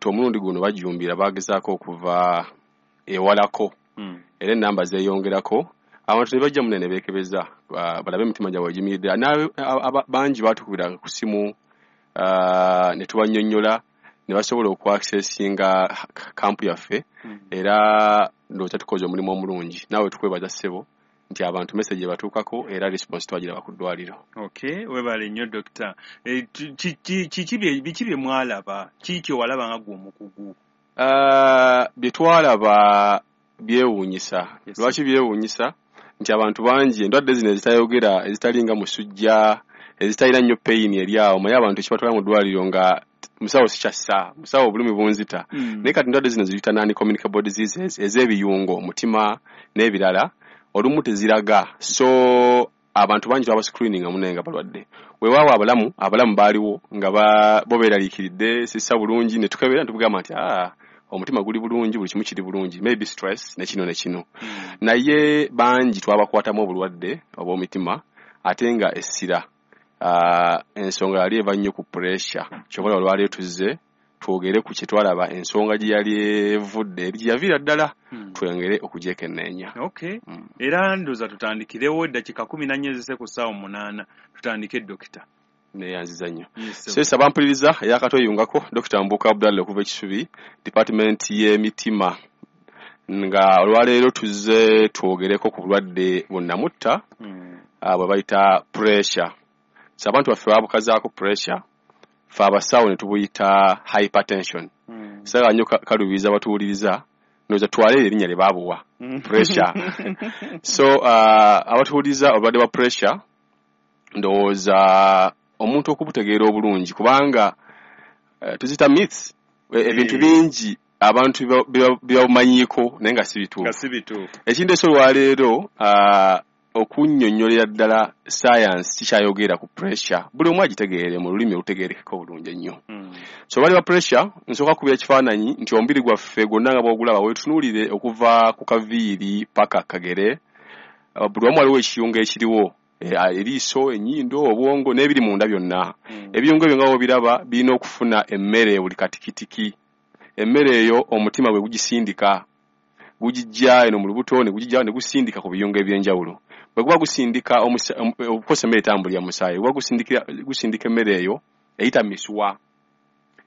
Abantu omulundi guno bajumbira, bagezaako okuva ewalako. Era enamba zeeyongerako, abantu ne bajja munene beekebeza, balabe emitima gyabwe gimiridde. Bangi baatukubira ku simu, ne tubannyonnyola ne basobola okwaccessinga camp yaffe. Era ndowooza tukoze omulimu omulungi. Naawe tukwebaza, ssebo, nti abantu message ebatuukako era response twagiraba ku ddwaliro. Okay, webale nnyo, dokita. Biki bye mwalaba? Kiki kyewalaba nga gwe omukugu? Bye twalaba byewuunyisa. Lwaki byewuunyisa? Nti abantu bangi endwadde zino ezitayogera, ezitalinga musujja, ezitalina nnyo pain eri awo, naye abantu ekibatwala mu ddwaliro nga musawo sikyassa, musawo obulumi bunzita. Naye kati endwadde zino ziyita non communicable diseases, ez'ebiyungo, omutima n'ebirala, olumu teziraga. So abantu bangi twaba screening munaye nga balwadde. Weewaawo abalamu baaliwo nga bo beeraliikiridde, sissa bulungi, ne tukebera ne tugamba nti, "Ah, omutima guli bulungi, buli kimu kiri bulungi, maybe stress ne kino ne kino." Naye bangi twabakwatamu obulwadde obw'omitima, ate nga essira, ensonga yali eva nnyo ku pressure. Kyova olwaleero tuzze twogere ku kye twalaba, ensonga gye yali evudde eri gye yaviira ddala, twongere okugyekenneenya. Okay. Era ndowooza tutandikirewo, eddakiika 14 ezise ku ssaawa 8. Tutandike, dokita. Neyanziza nnyo. Sesa bampuliriza eyakatweyungako, Dr Mbuuka Abdallah okuva Ekisubi, department y'emitima, nga olwaleero tuzze twogereko ku bulwadde bunnamutta bwe bayita pressure. So abantu baffe babukazaako pressure, fe abasawo ne tubuyita hypertension. Saagala nnyo kaluubiriza batuwuliriza, ndowooza twale erinnya lye baabuwa, pressure. So abatuwuliriza, obulwadde bwa pressure ndowooza omuntu okubutegeera obulungi, kubanga tuzita myths, ebintu bingi abantu bye babumanyiiko naye nga si bituufu. Nga si bituufu. Ekindeese olwaleero, okunnyonnyolera ddala science kikyayogera ku pressure, buli omu agitegeere mu lulimi olutegeerekeka obulungi ennyo. So obulwadde bwa pressure, nsooka kubira ekifaananyi nti omubiri gwaffe gwonna nga bw'ogulaba, weetunuulire okuva ku kaviiri paka kagere, buli wamu waliwo ekiyungo ekiriwo, eriiso, ennyindo, obwongo n'ebiri munda byonna. Ebiyungo ebyo nga bw'obiraba birina okufuna emmere buli katikitiki. Emmere eyo omutima bwe gugisindika, gugijja eno mu lubuto ne gugijja ne gusindika ku biyungo eby'enjawulo. Bwe guba gusindika, of course emmere etambulira musaayi, guba gusindika emmere eyo eyita mu misuwa.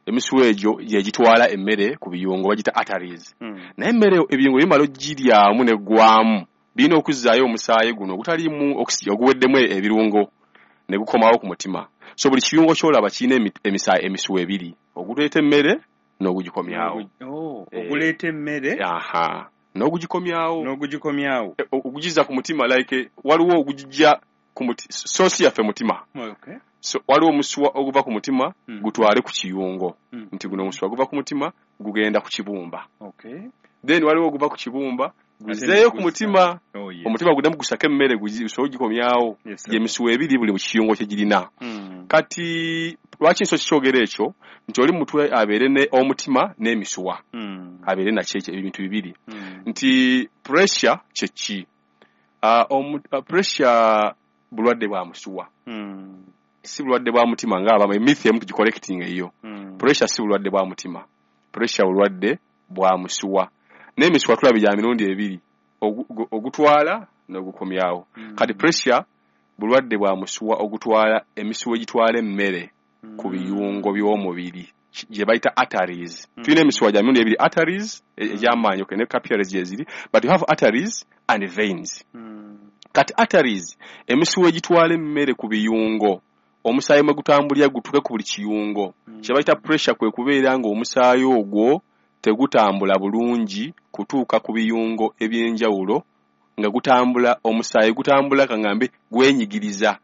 Emisuwa egyo gye gitwala emmere ku biyungo, bagiyita arteries. Naye emmere ebiyungo bimala ogiryamu neggwamu, birina okuzzaayo omusaayi guno ogutaliimu oxygen, oguweddemu ebirungo, ne gukomawo ku mutima. So buli kiyungo ky'olaba kirina emisuwa ebiri, oguleeta emmere n'ogugikomyawo. Oh, oguleeta emmere. Aha, n'ogugikomyawo. N'ogugikomyawo. Ogugizza ku mutima, like waliwo ogugijja ku muti, source yaffe mutima. So waliwo omusuwa oguva ku mutima gutwale ku kiyungo, nti guno omusuwa guva ku mutima gugenda ku kibumba. Then waliwo oguva ku kibumba guzeeyo ku mutima. Oh, yes. Omutima guddemu gusake emmere gusobole ogikomyawo. Gyemisuwa ebiri buli mu kiyungo kye girina. Kati lwaki nso kikyogera ekyo nti oli mutwe abeere ne omutima n'emisuwa, abeere nakyo ekyo ebintu bibiri, nti pressure kye ki? Pressure bulwadde bwa musuwa, si bulwadde bwa mutima ng'abamu emyth emu tugicorrecting eyo. Pressure si bulwadde bwa mutima, pressure bulwadde bwa musuwa. N'emisuwa tulaba gya mirundi ebiri, ogutwala n'ogukomyawo. Kati pressure bulwadde bwa musuwa ogutwala, emisuwa egitwala emmere ku biyungo by'omubiri gye bayita arteries. Tulina emisuwa gya mirundi ebiri, arteries egy'amaanyi, okay, ne capillaries gyeziri, but you have arteries and veins. Kati arteries, emisuwa egitwala emmere ku biyungo, omusaayi mwe gutambulira gutuuke ku buli kiyungo. Kye bayita pressure kwe kubeera ng'omusaayi ogwo tegutambula bulungi kutuuka ku biyungo eby'enjawulo, nga gutambula, omusaayi gutambula, kaŋŋambe gwenyigiriza,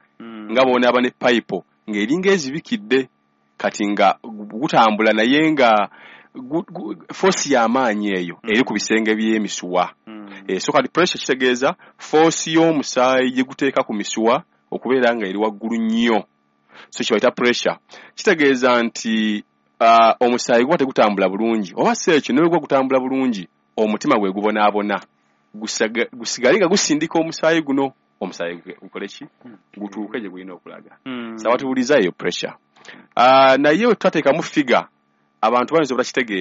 nga bw'onaaba ne payipo ng'eringa ezibikidde. Kati nga gutambula naye nga force y'amaanyi eyo eri ku bisenge by'emisuwa. So kati pressure kitegeeza force y'omusaayi gye guteeka ku misuwa okubeera nga eri waggulu nnyo. So kye bayita pressure kitegeeza nti omusaayi guba tegutambula bulungi, oba si ekyo ne bwe guba gutambula bulungi, omutima gwe gubonaabona gusigale nga gusindika omusaayi guno, omusaayi gukole ki? Gutuuke gye gulina okulaga. So abatubuuliza, eyo pressure. Naye twateekamu figure, abantu bayinza obutakitegeera.